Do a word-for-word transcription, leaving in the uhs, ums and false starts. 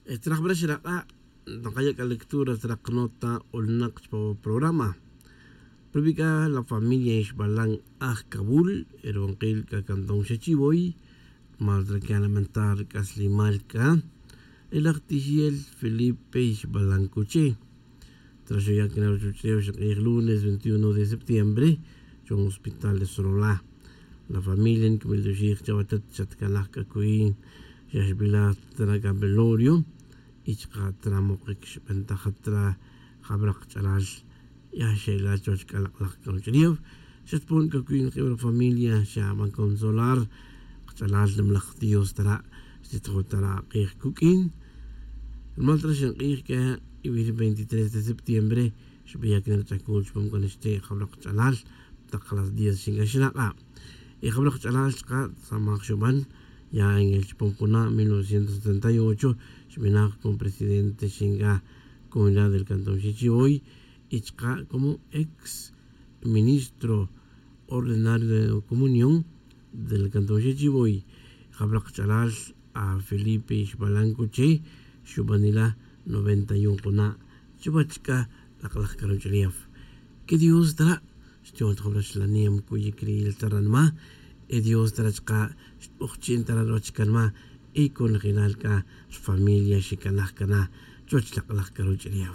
Nqaya' lectura nota olnäq chpan programa. Rub'i' la familia Ixbalan aj Kabul rwinqil k'a cantón Xachivoy rmal nkiya' lamentar rk'aslemal k'a ri laj ti xi'el Felipe Ixbalan Coche tra xuya' kan ruwäch ulew xinq'ij lunes veintiuno de septiembre chpan hospital de Sololá. La familia nkib'altyoxij chawa tat xatkanaj k'a kuy xaxb'ilaj tra velorio y chqä tra muqik xb'antaj tra jab'raq qach'alal ya xe'el äl chwäch k'a loq'oläj karuwach'ulew xatpon k'a kuy familia xe'ab'än consolar qach'alal nimaläj Dios ta ra' xtitjö ta raq'ij quk'in. Rmal tra xinq'ij k'a veintitrés de septiembre xb'eyak rch'akul chpan ixte' jab'raq qach'alal taq las diez xinkaxlaq'a'. Y jab'raq qach'alal chqä samaj xub'än ya en el chpom juna' mil novecientos setenta y ocho xb'enaj como presidente xinga comunidad del cantón Sichiboy y chqä como ex ministro ordinario de comunión del cantón Sichiboy. Jab'raq qach'alal a Felipe Ixbalan Coche xub'anila noventa y un juna' chwäch k'a loq'oläj karuwach'ulew. Que Dios ta ra' xtya' raxlanem kuyik rïl ta ranma y Dios ta ra' chqä xtb'ojchi'n ta ruwäch kanma y konojelal k'a rfamilia xekanaj kana chwäch loq'oläj karuwach'ulew.